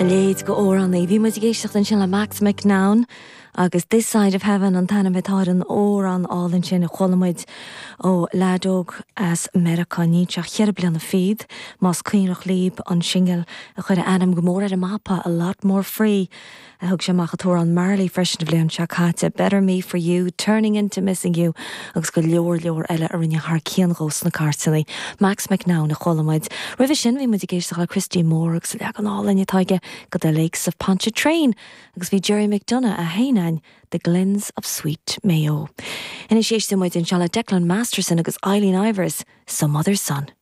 A leithéid d'amhránaí. Bhí muid ag éisteacht ansin le Max McNown agus This Side of Heaven an t-ainm atá ar an amhrán álainn sin a chuala muid ó leaid óg as Meiriceá. Níl sé ach cheithre bliana fichead, más cuimhneach libh an singil a chuir a ainm go mór ar an mapa, A Lot More Free. a thug sé amach an t-amhrán Marley freisin an bhliain seo caite, Better Me For You, Turning Into Missing You agus go leor leor eile a rinne thar cionn dhó sna cairteanna. Max McNown a chuala muid. Roimhe sin bhí muid ag éisteacht le Christy Moore agus an leagan álainn atá aige go The Lakes of Pontchartrain agus bhí Gerry McDonagh a sheinn a'inn The Glens of Sweet Mayo. Anois éistfidh muid anseo le Declan Masterson agus Eileen Ivers, Some Other Sun.